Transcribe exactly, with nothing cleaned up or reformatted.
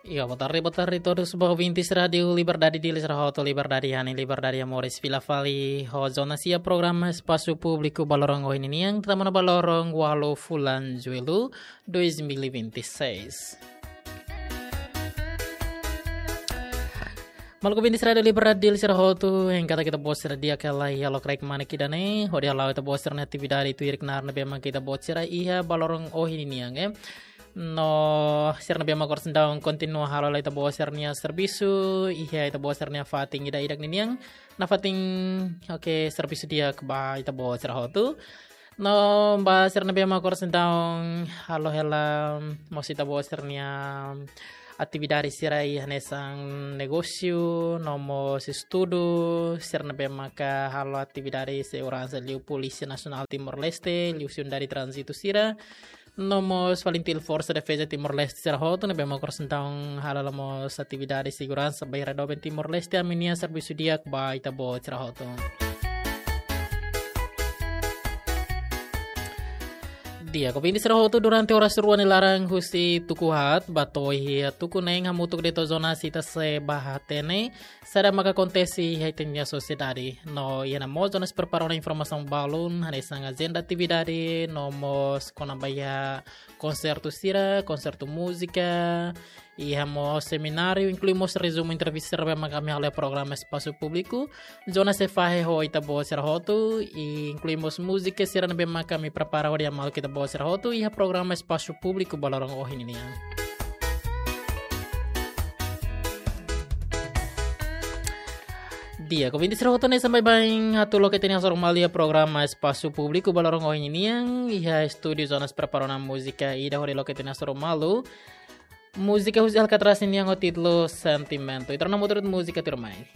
Iya, boa tarde, boa tarde todos ba ouvintes Rádio Liberdade di Lisra Hoto, Liberdade Hani, Liberdade Amores, fila fali ho zona sia programa Espasu Públiku ba loron ohin nian, tama ona ba loron walu fulan Jullu dois mil e vinte e seis. Maluk ouvintes Rádio Liberdade di Lisra Hoto, hein, katak ita-boot sira di'ak hela iha lokraik manik ida-ne'e, hodi hala'o ita-boot sira-nia atividade tuir knaar ne'ebé mak ita-boot sira iha ba loron ohin nian, eh. No sira ne'ebé mak oras ne'e kontinua halo hela ita-boot sira-nia servisu iha ita-boot sira-nia fatin ida-idak ninian. Nafatin, oke, servisu di'ak ba ita-boot sira hotu. No ba sira ne'ebé mak oras ne'e halo hela mós ita-boot sira-nia atividade sira iha hanesan negósiu, no mós estudu, sira ne'ebé maka halo atividade seguransa liu Polísia Nasionál Timor-Leste, liuhusi Unidade Tránzitu sira, no mós FALINTIL, Forsa Defeza Timor-Leste sira hotu ne'ebé mak oras ne'e halo hela mós atividade seguransa ba iha rai doben Timor-Leste, ami-nia servisu di'ak ba ita-boot sira hotu. Di'ak, ouvintes sira hotu, durante oras rua nia laran husi tuku haat ba to'o iha tuku neen hamutuk de'it ho zona sita sei bá hatene saida maka akontese iha ita-nia sosiedade. No iha ne'e mós zona sei prepara ona informasaun balun hanesan ajenda atividade, no mós kona-ba iha konsertu sira, konsertu múzika, iha mós semináriu, inklui mós rezumu entrevista sira ne'ebé maka ami halo iha programa Espasu Públiku. Zona sei fahe ho ita-boot sira hotu, i inklui mós múzika sira ne'ebé maka ami prepara hodi hamaluk ita-boot sira hotu iha programa Espasu Públiku ba loron ohin nian. Di'ak, ouvintes sira hotu, hanesan baibain atu loke ita-nia hasoru malu iha programa Espasu Públiku ba loron ohin nian, iha estúdiu zona sei prepara ona múzika ida hodi loke ita-nia hasoru malu. Múzika husi Alcatraz nian ho títulu Sentimentu. Ita rona hamutuk múzika tuirmai.